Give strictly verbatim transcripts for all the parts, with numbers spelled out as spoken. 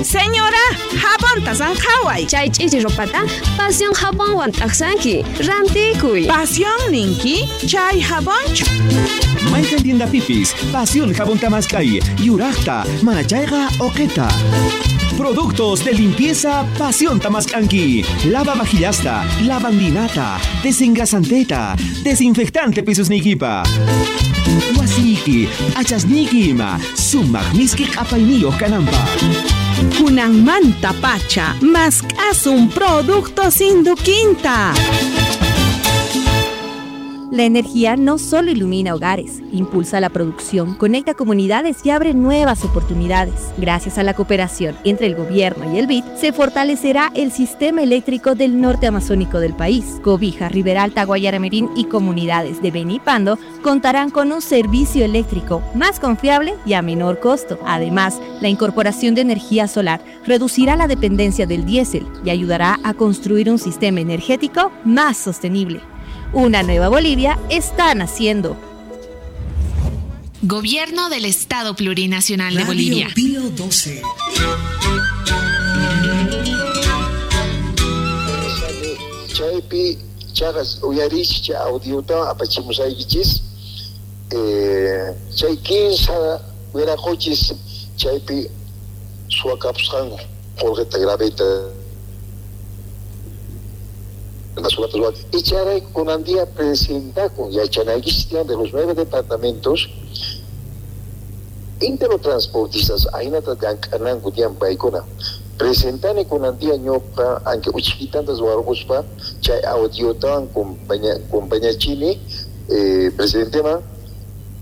Señora, jabonta sanqhaway. Chay ch'ichi ropata Pasión jabonwan t'aqsanki. Rantikuy. Pasión ninki, chay jabonchu. Mayqan tiendapipis, Pasión jabonta mask'ay, yuraqta, manachayqa uqita. Productos de limpieza Pasión tamask'anki. Lava vajillasta, lavandinata, desengrasanteta, desinfectante pisusniykipa. Wasiyki, achasniyki ima, sumaq miski q'apayniyuq kananpaq. Kunanmanta pacha, mask'asun productos Induquinta. La energía no solo ilumina hogares, impulsa la producción, conecta comunidades y abre nuevas oportunidades. Gracias a la cooperación entre el gobierno y el B I D, se fortalecerá el sistema eléctrico del norte amazónico del país. Cobija, Riberalta, Guayaramerín y comunidades de Beni y Pando contarán con un servicio eléctrico más confiable y a menor costo. Además, la incorporación de energía solar reducirá la dependencia del diésel y ayudará a construir un sistema energético más sostenible. Una nueva Bolivia está naciendo. Gobierno del Estado Plurinacional de Radio Bolivia. Pío doce. Chaypi chagas uyarich chay audiota apachimusaykichis eh chay kinsa wiraquchis chaypi suwakapusqanku qolqeta graveta y charay kunan día presentakun yachanaykichis tiyan de los nueve departamentos interotransportistas ahinata llank'ananku tiyan paykuna presentani kunan día ñuqa anque uchkitantas warquspa chay audiotawan compaña compañachini eh, presidenteman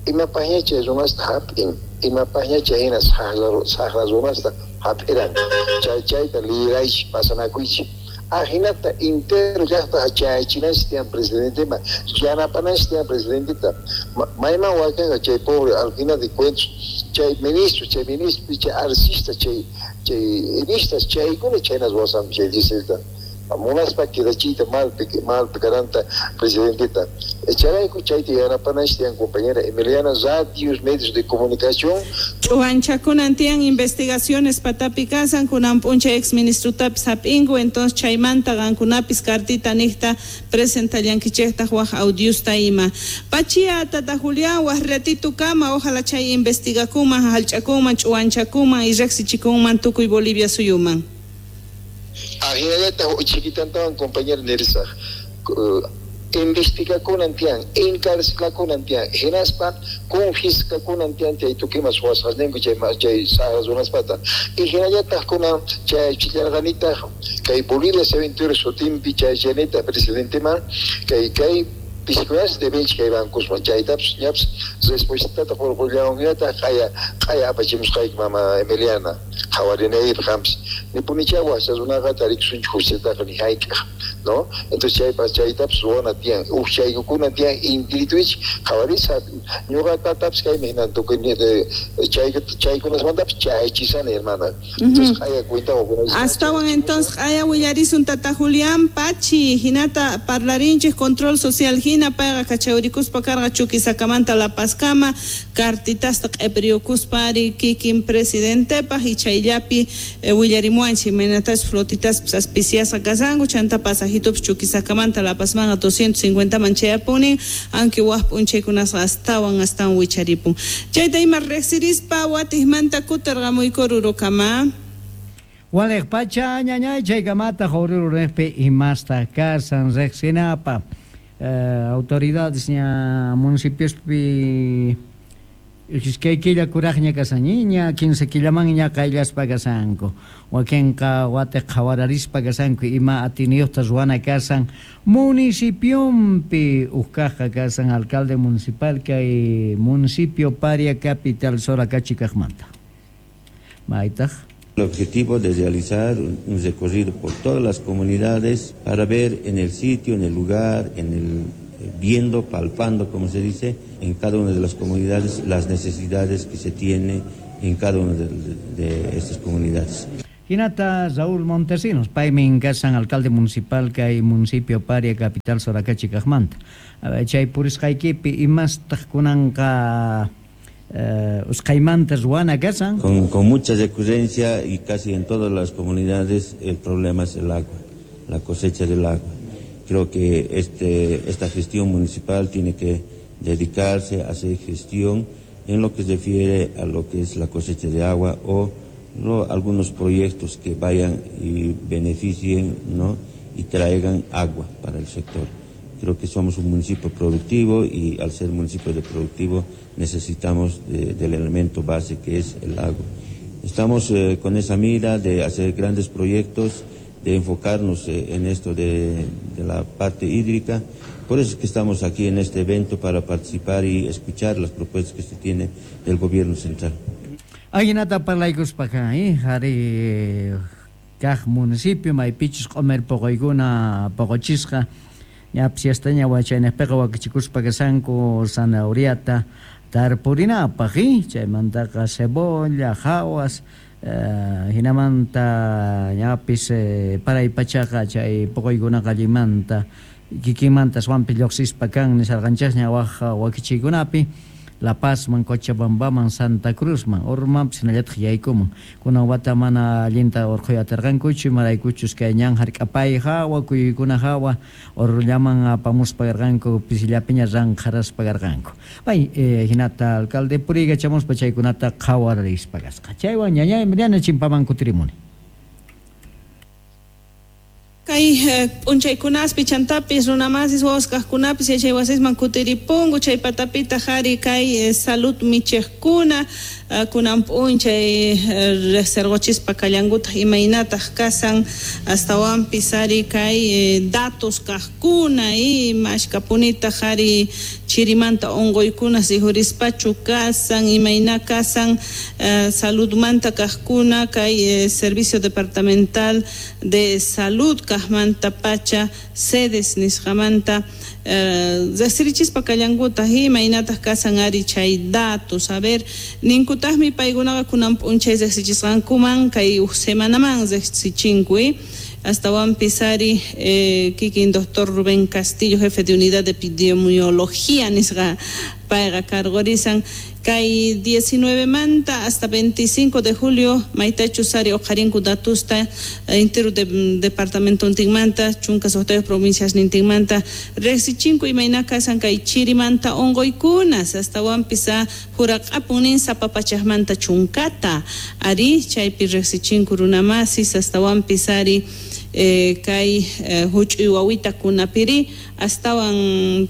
imapaqña chay runasta hap'in imapaqña chay hina saqra runasta hap'iran chay chayta liraychis pasanakuychis ajinata intero llaqta chayachinanchis tiyan presidenteman yanapananchis tiyan presidenteta mayman wakanqa chay pobre al final de cuentas chay ministro chay ministro chay arcista chay chay enistas chaykuna chaynas wasanku chay dieselta munaspa quedachiyta malpi malpi karanta presidenteta chayrayku chayta yanapananchis tiyan compañera Emiliana radios medios de comunicación Ch'uwanchakunan tiyan investigaciones patapi kasan kunan p'unchay ex ministrutapis hap'inku entonces chaymanta qankunapis cartita niqta presentallankichejtaq waj audiusta ima Pachia tata Julián waj ratito kama ojalá chay investigakunman hallch'akunman ch'uwanchakunman y riqsichikunman tukuy Bolivia suyuman. Ajinallata chiquitantawan compañera Nerissa investigakunan tiyan encarcelakunan tiyan hinaspa confiscakunan tiyan chay tukimas suwasqasninku chay chay saqra runaspata y hinallataq kunan chay chillarqanitaq kay Bolivia se aventura sutinpi chay chanita presidenteman kay kay pisikunas debenchik kay bancosman chaytapas ñapas respuestata qurqullawanñataq q'aya q'aya apachimusqayki mama Emiliana qhawarinaypaq qanpis nipunichá wasa runaqa tarikusunchik justiataqa ni hayk'aq no entonces chaypas chaytapas ruwana tiyan uj chaykukuna tiyan intirituichik qhawarisa ñuqa tatapis kaymi hinan tukuy chay chaykunasmantapas chayachisani hermana entonces q'aya cuenta astawan entonces q'aya willarisun tata Julián Pachi hinata parlarinchik control social hina payqa kachawrikuspa karqa Chuquisakamanta La Pazkama cartitasta q'ipiriyukuspa ari kikin presidentepaq y chayllapi eh, willarimuanchik imaynatachus flotitaspas aspiciasqa kasanku chanta pasajitupis Chuquisakamanta La Pazmanqa doscientos cincuenta man chayapunin aunque waj p'unchaykunasqa astawan astawan wicharipun chayta ima riqsirispa watiqmanta kutirqamuyku rurukama. Waliq pacha ñañay chaykamata Oruro-niqpi imasta kasan riqsinapa eh, autoridades ña municipiospi iskay killa kuraqña kasañiña quince killaman ña qayllaspa kasanku wakinqa watiq qhawararispa kasanku ima atiniyuqta ruwana kasan municipionpi uqkaqqa kasan alcalde municipal kay municipio Paria Capital Soracachi kaqmanta maytaq. El objetivo de realizar un recorrido por todas las comunidades para ver en el sitio, en el lugar, en el viendo, palpando, como se dice, en cada una de las comunidades, las necesidades que se tiene en cada una de, de, de estas comunidades. Hinata Raúl Montesinos, paymi kasan alcalde municipal kay municipio Paria Capital Soracachi kaqmanta. Chay purisqaykipi imastaq kunanqa eh, usqaymanta ruwana kasan. Con, con mucha recurrencia y casi en todas las comunidades el problema es el agua, la cosecha del agua. Creo que este, esta gestión municipal tiene que dedicarse a hacer gestión en lo que se refiere a lo que es la cosecha de agua o lo, algunos proyectos que vayan y beneficien, ¿no?, y traigan agua para el sector. Creo que somos un municipio productivo y al ser municipio de productivo necesitamos de, del elemento base que es el agua. Estamos eh, con esa mira de hacer grandes proyectos, de enfocarnos eh, en esto de, de la parte hídrica. Por eso es que estamos aquí en este evento para participar y escuchar las propuestas que se tiene del gobierno central. Ajinata parlaykuspaqa, eh, jari kaj municipio maypichus q'umir poqoykuna poqochisqa ñapis yastaña wachaynejpiqa wakichikuspa kasanku zanahoriata tarpurinapaq, eh, chaymantaqa cebolla, jawas, eh, hinamanta ñapis eh, paraypachaqa chay poqoykunaqa allinmanta kikinmanta aswanpi lluqsispa kan nisarqanchasña waj wakichiykunapi La Pazman, Cochabambaman, Santa Cruzman, Ormanpis hinallataq yaykuman. Kunan wata mana allinta urqhuy atirqankuchu, imaraykuchus kay ñan hark'apay hawa, kuyuykuna hawa, orrullaman apamuspa karqanku, pisillapiña ranqharaspa karqanku. Pay, eh, hinata alcalde puriykachamuspa chaykunata qhawarispa kasqa. Chaywan ñañay Mariana chimpaman kutirimuni. Kay p'unchaykunaspi chantapis runamasis wawaskaqkunapis yachaywasisman kutiripunku chay patapita jari kay salud michejkuna kunan p'unchay resergochispa kallankutaq imaynataq kasan astawanpis ari kay datos kaqkuna y mashkapunitaq ari chirimanta unquykuna rijurispachu kasan imayna kasan saludmanta kaqkuna kay servicio departamental de salud kaqmanta pacha sedes nisqamanta riqsirichispa kallankutaq imaynataq kasan ari chay datos. A ver, ninkutaqmi paykunaqa kunan p'unchay riqsichisqankuman kay uj semanaman riqsichinku astawanpis ari eh, kikin doctor Rubén Castillo, jefe de unidad de epidemiología nisqa payqa cargorisan kay diecinueve manta hasta veinticinco de julio maytachus ari uqharinku datusta entero de, departamento ntinmanta chunka suqtayuq provincias nintinmanta riqsichinku imayna kasan kay chirimanta unquykunas astawanpis juraq'apun nin sapa pachaqmanta chunkata ari chaypi riqsichinku runamasis astawanpis ari Eh, kay eh, huch'uy wawitakunapiri astawan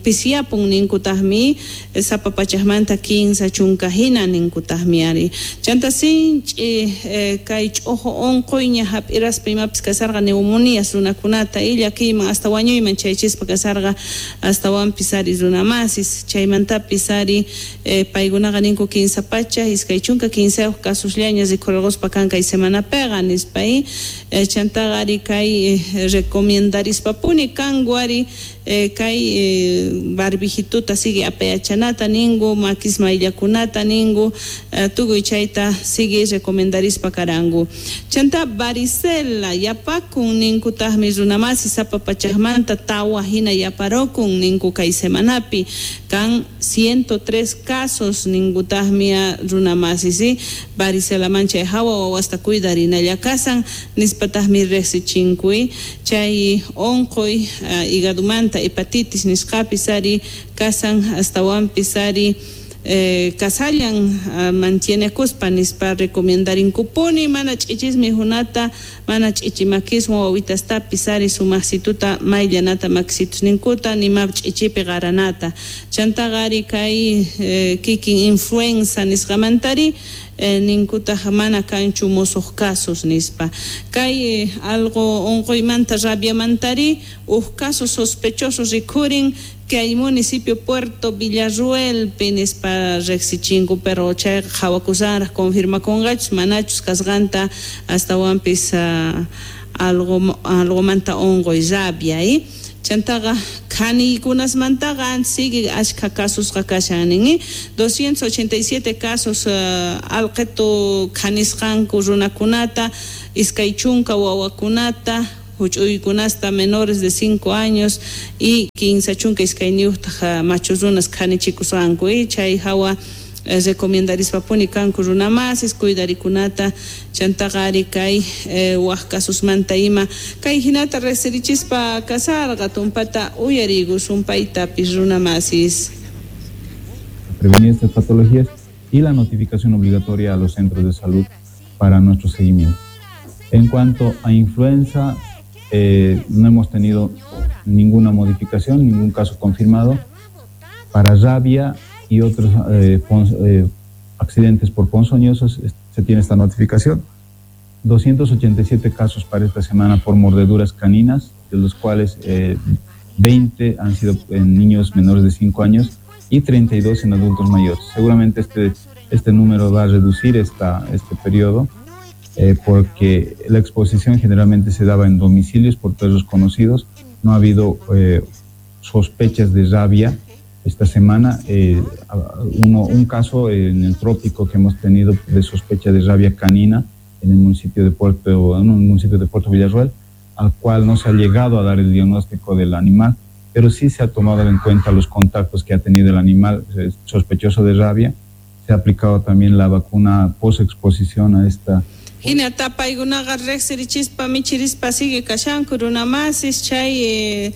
pisiyapun ninkutaqmi sapa pachaqmanta kinsa chunka hina ninkutaqmi ari chanta sinch'i eh, kay ch'uju unquyña hap'iraspa imapis kasarqa neumonías runakunata illakiyman hasta wañuyman chaychispa kasarqa astawanpis ari runamasis chaymantapis ari eh, paykunaqa ninku kinsa pacha iskay chunka kinsayuq kasusllaña rikhurquspa kan kay semanapiqa nispa eh, chantaqa ari kay recomendaриspapuni kanku ari eh, kay eh, barbijituta sigue apayachanata ninku makis mayllakunata ninku eh, tukuy chayta sigue recomendarispa karanku chanta varicela yapakun ninkutaqmi runamasi sapa pachaqmanta tawa hina yaparokun ninku kay semanapi kan ciento tres casos ninkutaqmi runamasi si varicela manchay hawa wawasta cuidarinalla kasan nispataqmi riqsichinku chay unquy uh, hígadumanta hepatitis nisqapis ari kasan astawanpis ari eh, kasallan uh, mantienekuspa nispa recomendaриnkupuni mana ch'ichismi hunata mana ch'ichimakiswan wawitastapis ari sumaqsituta mayllanata makisitusninkuta nima ch'ichipi qaranata chantaqa ari kay eh, kikin influenza nisqamantari eh, ninkutaq mana kanchu musuq casos nispa kay eh, algo unquymanta rabiamantari uj casos sospechosos rikhurin kay municipio Puerto Villarruelpi nispa riqsichinku pero chay qhawakusanraq confirmakunqachus manachus kasqanta astawanpis uh, algo algomanta unquy rabia eh? Chantaqa khaniykunasmantaqa sigue ashkha casos kashan nin doscientos ochenta y siete casos uh, alqetu khanisqanku runakunata iskay chunka wawakunata huch'uykunasta menores de cinco años y kinsa chunka iskayniyuqtaq machu runas khanichikusqanku chay hawa Recomendarispa kanku runamasis cuidarikunata chantaqa ari kay eh, waj kasusmanta ima kay hinata riqsirichispa kasarqa tumpata uyariykusun paytapis runamasis. Prevenir estas patologías y la notificación obligatoria a los centros de salud para nuestro seguimiento. En cuanto a influenza, eh, no hemos tenido ninguna modificación, ningún caso confirmado. Para rabia y otros eh, pon, eh, accidentes por ponzoñosos se tiene esta notificación. doscientos ochenta y siete casos para esta semana por mordeduras caninas, de los cuales eh, veinte han sido en niños menores de cinco años y treinta y dos en adultos mayores. Seguramente este, este número va a reducir esta, este periodo, eh, porque la exposición generalmente se daba en domicilios por perros conocidos. No ha habido eh, sospechas de rabia esta semana. Eh, uno, un caso en el trópico que hemos tenido de sospecha de rabia canina en el municipio de Puerto, en un municipio de Puerto Villarroel, al cual no se ha llegado a dar el diagnóstico del animal, pero sí se ha tomado en cuenta los contactos que ha tenido el animal sospechoso de rabia. Se ha aplicado también la vacuna post-exposición a esta. Hina tapaykunaqa riqsirichispa michirispa sigue kashanku runamasis chay eh,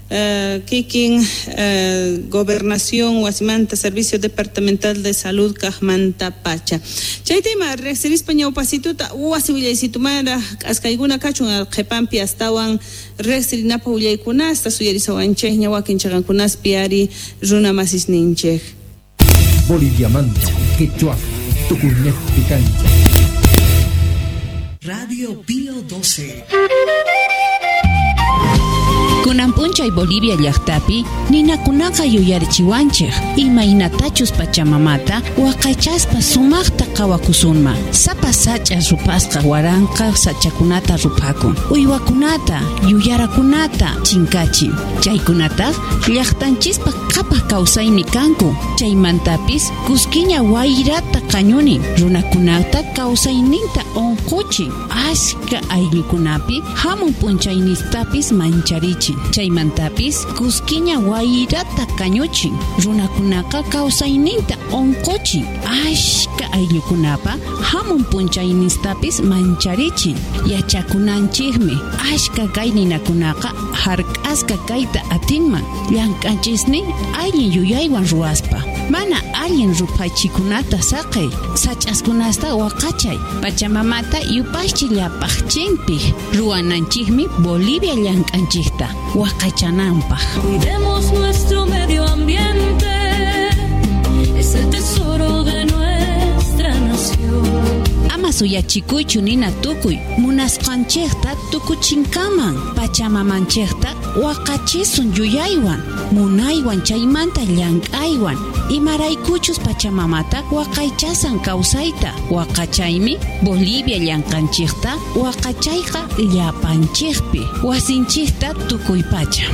Uh, kikin uh, gobernación wasimanta servicio departamental de salud kajmanta pacha chay tema riqsirispa ñawpasituta wasi willaysitumara k'askaykuna kachun qhipanpi astawan riqsirinapaq willaykunasta suyarisawanchikña wakin chaqankunaspi ari runamasisninchik. Boliviamanta, Quechua, Tucumán, Cancha. Radio Pío doce. Kunan p'unchay Bolivia llaqtapi ninakunaqa yuyarichiwanchik imaynatachus pachamamata waqaychaspa sumaqta qawakusunman. Sapa sach'a rupasqa waranqa sachakunata rupakun, uywakunata yuyarakunata chinkachin. Chaykunataq llaqtanchispa qhapaq kawsaymi kanku. Chaymantapis kuskiña wayrata qañunin, runakunata kawsayninta unquchin, ashka ayllukunapi hamun p'unchaynistapis mancharichin. Chaymantapis kuskiña wayrata kañuchin, runakunaqa kawsayninta unquchin, ashka ayllukunapa hamun p'unchaynistapis mancharichin. Yachakunanchikmi ashka kay ninakunaqa hark'asqa kayta atinman llank'anchisnin allin yuyaywan ruwaspa. Mana allin ruphachikunata saqey, sach'askunasta waqachay, pachamamata yupaychi llapaqchinpi ruwananchikmi Bolivia llank'anchikta waqachananpaq. Cuidemos nuestro medio ambiente, es el tesoro de nuestra nación. Ama suyachikuychu nina tukuy, munasqanchikta tukuchinkaman, pachamamanchikta waqachisun yuyaywan, munaywan chaymanta llank'aywan, imaraykuchus pachamamata waqaychasan kawsayta, waqachaymi Bolivia llank'anchikta waqachayqa llapanchikpi, wasinchikta tukuypacha.